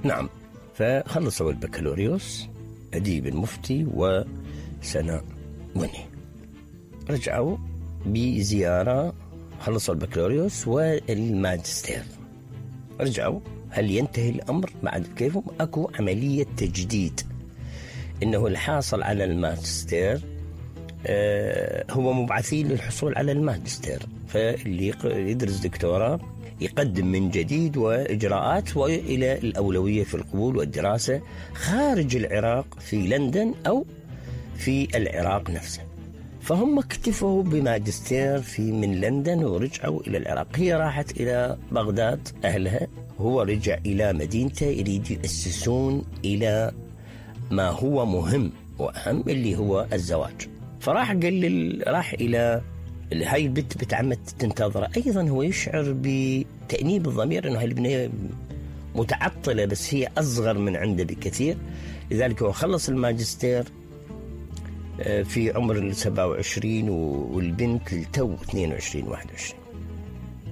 نعم. فخلصوا البكالوريوس أديب المفتي وسناء مني، رجعوا بزيارة، خلصوا البكالوريوس والماجستير، رجعوا. هل ينتهي الأمر بعد كيفهم؟ أكو عملية تجديد، إنه الحاصل على الماجستير هو مبعثين للحصول على الماجستير، فاللي يدرس دكتوراه يقدم من جديد وإجراءات وإلى الأولوية في القبول والدراسة خارج العراق في لندن أو في العراق نفسه. فهم اكتفوا بماجستير من لندن ورجعوا إلى العراق. هي راحت إلى بغداد أهلها، هو رجع إلى مدينته، يريد يأسسون إلى ما هو مهم وأهم اللي هو الزواج. فراح راح إلى هاي البنت بتعمد تنتظر. أيضا هو يشعر بتأنيب الضمير أنه هاي البنية متعطلة، بس هي أصغر من عنده بكثير. لذلك هو خلص الماجستير في عمر 27 والبنت تو 22-21،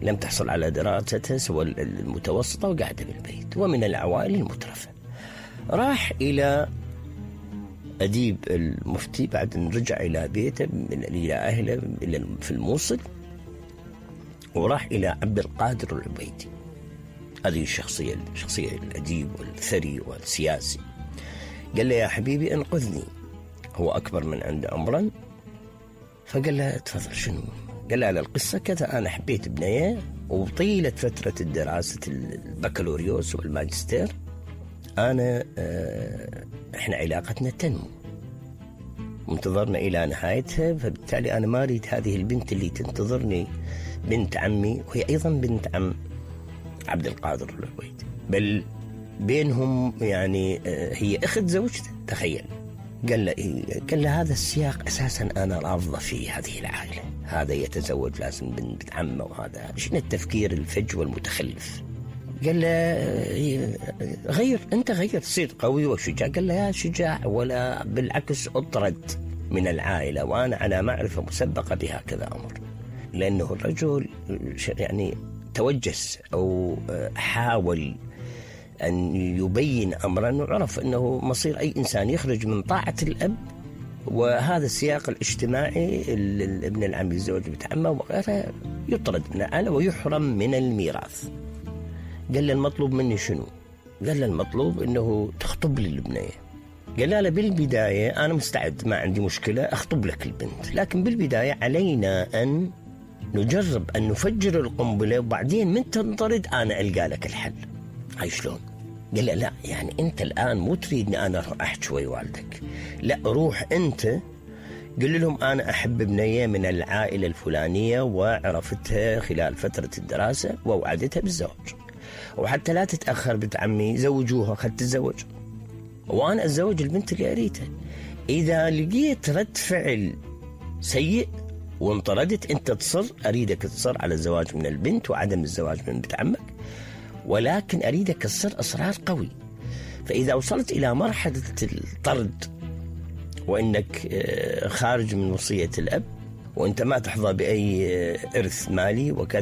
لم تحصل على دراستها سوى المتوسطة وقاعدة بالبيت، ومن العوائل المترفة. راح إلى أديب المفتي بعد أن رجع إلى بيته إلى أهله في الموصل، وراح إلى عبد القادر العبيدي. هذه الشخصية الأديب والثري والسياسي. قال له يا حبيبي أنقذني، هو أكبر من عنده عمرا. فقال له تفضل شنو؟ قال له على القصة كذا، أنا حبيت بنية وطيلة فترة الدراسة البكالوريوس والماجستير أنا إحنا علاقتنا تنمو، منتظرنا إلى نهايتها، فبالتالي أنا ما أريد هذه البنت اللي تنتظرني بنت عمي، وهي أيضا بنت عم عبد القادر العبيدي، بل بينهم يعني هي أخت زوجته. تخيل. قال له هذا السياق أساسا أنا رافضة في هذه العائلة، هذا يتزوج لازم بنت عمه، وهذا شنو التفكير الفج والمتخلف. قال له غير، أنت غير، تصير قوي وشجاع. قال له يا شجاع ولا بالعكس، أطرد من العائلة وأنا على معرفة مسبقة بهكذا أمر. لأنه الرجل يعني توجس أو حاول أن يبين أمرا، وعرف أنه مصير أي إنسان يخرج من طاعة الأب وهذا السياق الاجتماعي، ابن العم يتزوج بنت عمه وغيرها، يطرد من العائلة ويحرم من الميراث. قال له المطلوب مني شنو؟ قال له المطلوب أنه تخطب لي البنية. قال له بالبداية أنا مستعد، ما عندي مشكلة أخطب لك البنت، لكن بالبداية علينا أن نجرب أن نفجر القنبلة، وبعدين من تنطرد أنا ألقى لك الحل. هاي شلون؟ قال له لا، يعني أنت الآن مو تريدني أنا أروح أحكي ويا والدك، لا، روح أنت قل لهم أنا أحب بنية من العائلة الفلانية وعرفتها خلال فترة الدراسة ووعدتها بالزواج، وحتى لا تتأخر بنت عمي زوجوها، خد تتزوج وأنا أتزوج البنت اللي أريدها. إذا لقيت رد فعل سيء وانطردت، أنت تصر، أريدك تصر على الزواج من البنت وعدم الزواج من بنت عمك، ولكن أريدك تصر إصرار قوي. فإذا وصلت إلى مرحلة الطرد وإنك خارج من وصية الأب وإنت ما تحظى بأي إرث مالي وكذا،